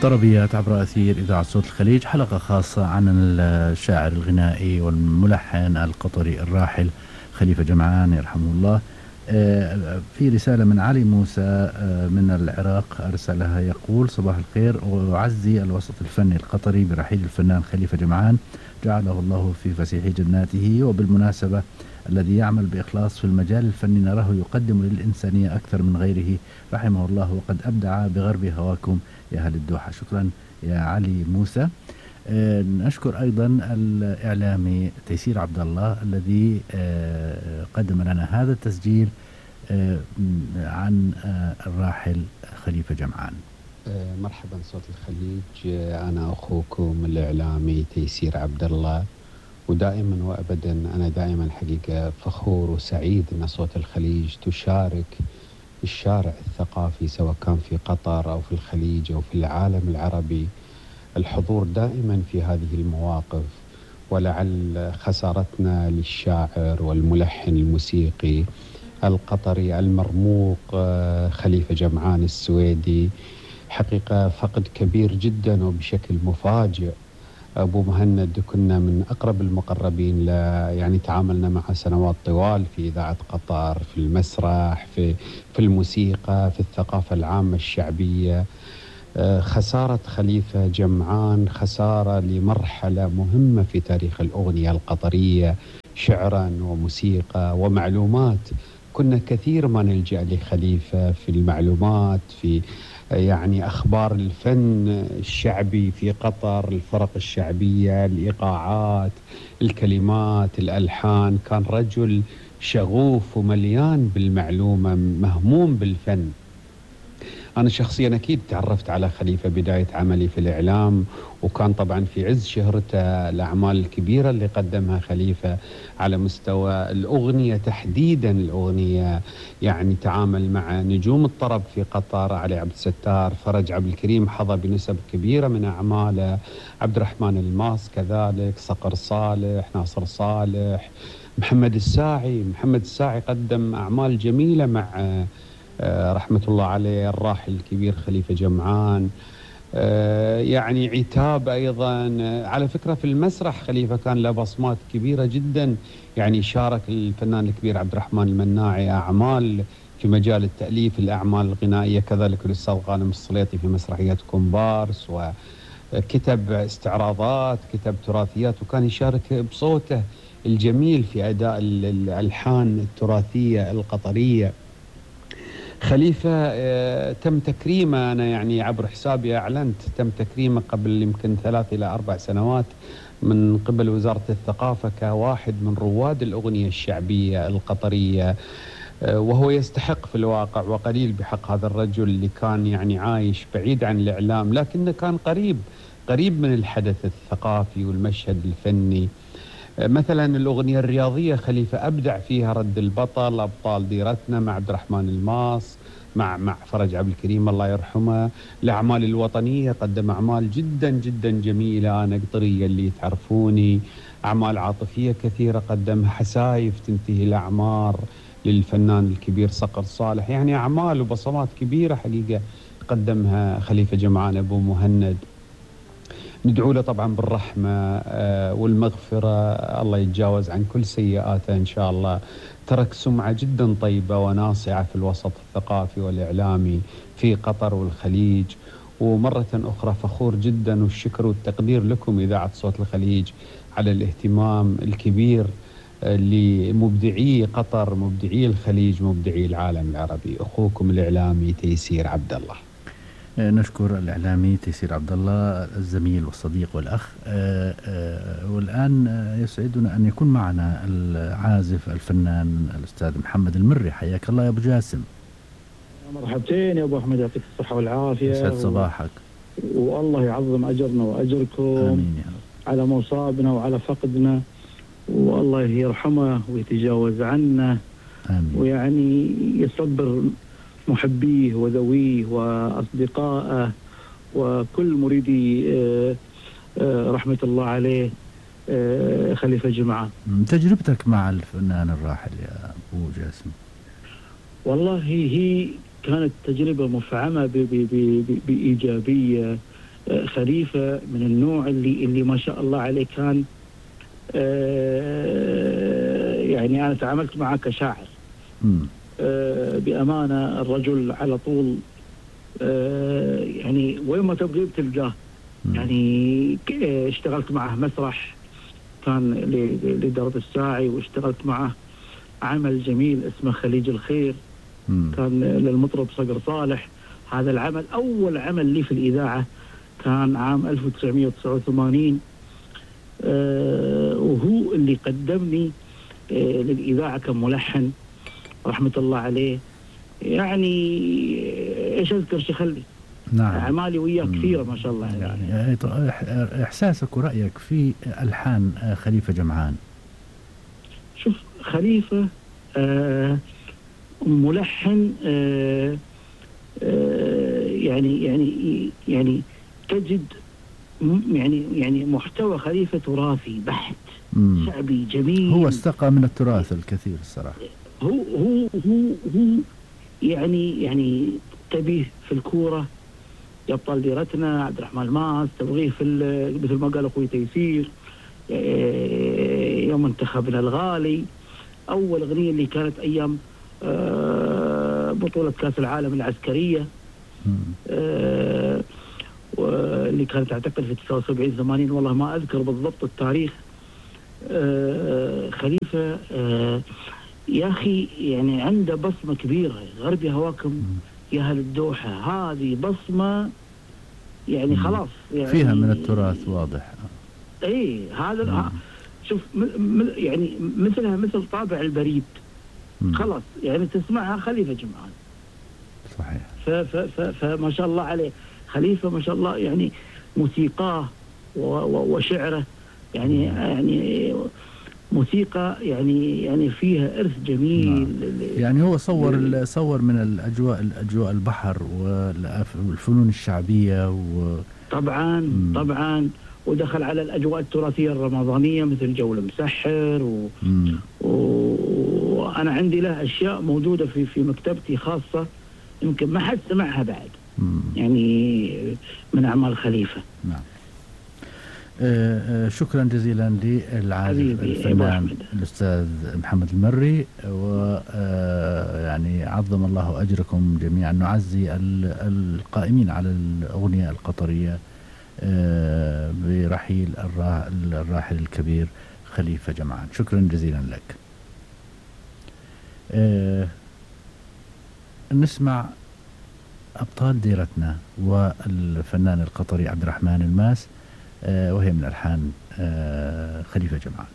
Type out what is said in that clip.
طربيات عبر أثير إذاعة صوت الخليج، حلقة خاصة عن الشاعر الغنائي والملحن القطري الراحل خليفة جمعان يرحمه الله. في رسالة من علي موسى من العراق أرسلها، يقول: صباح الخير، وأعزي الوسط الفني القطري برحيل الفنان خليفة جمعان، جعله الله في فسيح جناته. وبالمناسبة الذي يعمل بإخلاص في المجال الفني نراه يقدم للإنسانية أكثر من غيره، رحمه الله، وقد أبدع بغرب هواكم يا أهل الدوحة. شكرا يا علي موسى. نشكر أيضا الإعلامي تيسير عبد الله الذي قدم لنا هذا التسجيل عن الراحل خليفة جمعان. مرحبا صوت الخليج، أنا أخوكم الإعلامي تيسير عبد الله، ودائما وأبدا أنا دائما حقيقة فخور وسعيد أن صوت الخليج تشارك الشارع الثقافي سواء كان في قطر أو في الخليج أو في العالم العربي الحضور دائما في هذه المواقف. ولعل خسارتنا للشاعر والملحن الموسيقي القطري المرموق خليفة جمعان السويدي حقيقة فقد كبير جدا وبشكل مفاجئ. أبو مهند كنا من أقرب المقربين يعني تعاملنا معه سنوات طوال في إذاعة قطر، في المسرح، في الموسيقى، في الثقافة العامة الشعبية. خسارة خليفة جمعان خسارة لمرحلة مهمة في تاريخ الأغنية القطرية شعرا وموسيقى ومعلومات. كنا كثير ما نلجأ لخليفة في المعلومات، في يعني أخبار الفن الشعبي في قطر، الفرق الشعبية، الإيقاعات، الكلمات، الألحان. كان رجل شغوف ومليان بالمعلومة، مهموم بالفن. أنا شخصيا أكيد تعرفت على خليفة بداية عملي في الإعلام، وكان طبعا في عز شهرته الأعمال الكبيرة اللي قدمها خليفة على مستوى الأغنية تحديدا. الأغنية يعني تعامل مع نجوم الطرب في قطر، علي عبد الستار، فرج عبد الكريم حظى بنسب كبيرة من أعماله، عبد الرحمن الماس كذلك، صقر صالح، ناصر صالح، محمد الساعي قدم أعمال جميلة مع رحمة الله عليه الراحل الكبير خليفة جمعان. يعني عتاب أيضا. على فكرة في المسرح خليفة كان له بصمات كبيرة جدا، يعني شارك الفنان الكبير عبد الرحمن المناعي أعمال في مجال التأليف، الأعمال الغنائية، كذلك الأستاذ غانم السليطي في مسرحية كومبارس، وكتب استعراضات، كتب تراثيات، وكان يشارك بصوته الجميل في أداء الألحان التراثية القطرية. خليفة تم تكريمه، أنا يعني عبر حسابي أعلنت تم تكريمه قبل يمكن 3 إلى 4 سنوات من قبل وزارة الثقافة كواحد من رواد الأغنية الشعبية القطرية، وهو يستحق في الواقع، وقليل بحق هذا الرجل اللي كان يعني عايش بعيد عن الإعلام لكنه كان قريب من الحدث الثقافي والمشهد الفني. مثلا الأغنية الرياضية خليفة أبدع فيها، رد البطل، أبطال ديرتنا مع عبد الرحمن الماس، مع فرج عبد الكريم الله يرحمه. الأعمال الوطنية قدم أعمال جدا جدا جميلة، أنا قطرية اللي تعرفوني. أعمال عاطفية كثيرة قدمها، حسايف تنتهي الأعمار للفنان الكبير صقر صالح. يعني أعمال وبصمات كبيرة حقيقة قدمها خليفة جمعان أبو مهند. ندعو له طبعا بالرحمة والمغفرة، الله يتجاوز عن كل سيئاته إن شاء الله. ترك سمعة جدا طيبة وناصعة في الوسط الثقافي والإعلامي في قطر والخليج. ومرة أخرى فخور جدا، والشكر والتقدير لكم إذاعة صوت الخليج على الاهتمام الكبير لمبدعي قطر، مبدعي الخليج، مبدعي العالم العربي. أخوكم الإعلامي تيسير عبد الله. نشكر الإعلامي تيسير عبد الله الزميل والصديق والأخ. والآن يسعدنا أن يكون معنا العازف الفنان الأستاذ محمد المري. حياك الله يا أبو جاسم. مرحبتين يا أبو أحمد، يعطيك الصحة والعافية. يسعد صباحك. والله يعظم أجرنا وأجركم. آمين يا رب. على مصابنا وعلى فقدنا، والله يرحمه ويتجاوز عنا. آمين. ويعني يصبر محبيه وذويه وأصدقائه وكل مريدي رحمة الله عليه خليفة جمعان. تجربتك مع الفنان الراحل يا أبو جاسم؟ والله هي كانت تجربة مفعمة بإيجابية، خليفة من النوع اللي ما شاء الله عليه كان يعني أنا تعاملت معه كشاعر. بأمانة الرجل على طول يعني وين ما تبغي بتلقاه. يعني اشتغلت معه مسرح كان لدرب الساعي، واشتغلت معه عمل جميل اسمه خليج الخير كان للمطرب صقر صالح. هذا العمل أول عمل لي في الإذاعة كان عام 1989 وهو اللي قدمني للإذاعة كملحن رحمة الله عليه. يعني إيش أذكر شخلي. نعم. أعمالي وياه كثيرة ما شاء الله. يعني إحساسك ورأيك في ألحان خليفة جمعان. شوف خليفة ملحن يعني تجد يعني محتوى خليفة تراثي بحت شعبي جميل. هو استقى من التراث الكثير الصراحة. هو يعني تبيه في الكورة يبطل ديرتنا عبد الرحمن الماس، تبغيه في مثل ما قال أخوي تيسير يوم انتخبنا الغالي، أول أغنية اللي كانت أيام بطولة كأس العالم العسكرية واللي كانت أعتقد في 79-80 والله ما أذكر بالضبط التاريخ. خليفة يا أخي يعني عنده بصمة كبيرة. غربي هواكم يا أهل الدوحة، هذه بصمة يعني خلاص يعني فيها من التراث واضح. اي هذا شوف يعني مثلها مثل طابع البريد خلاص يعني تسمعها خليفة جمعان. صحيح. فما شاء الله عليه خليفة ما شاء الله يعني موسيقاه وشعره يعني موسيقى يعني فيها إرث جميل. يعني هو صور من الأجواء البحر والفنون الشعبية طبعا ودخل على الأجواء التراثية الرمضانية مثل جو المسحر وأنا عندي له أشياء موجودة في مكتبتي خاصة يمكن ما حد سمعها بعد يعني من أعمال خليفة. نعم. شكرا جزيلا للعازف الفنان الأستاذ محمد المري، ويعني عظم الله أجركم جميعا. نعزي القائمين على الأغنية القطرية برحيل الراحل الكبير خليفة جمعان. شكرا جزيلا لك. نسمع أبطال ديرتنا والفنان القطري عبد الرحمن الماس، وهي من ألحان خليفة جمعان.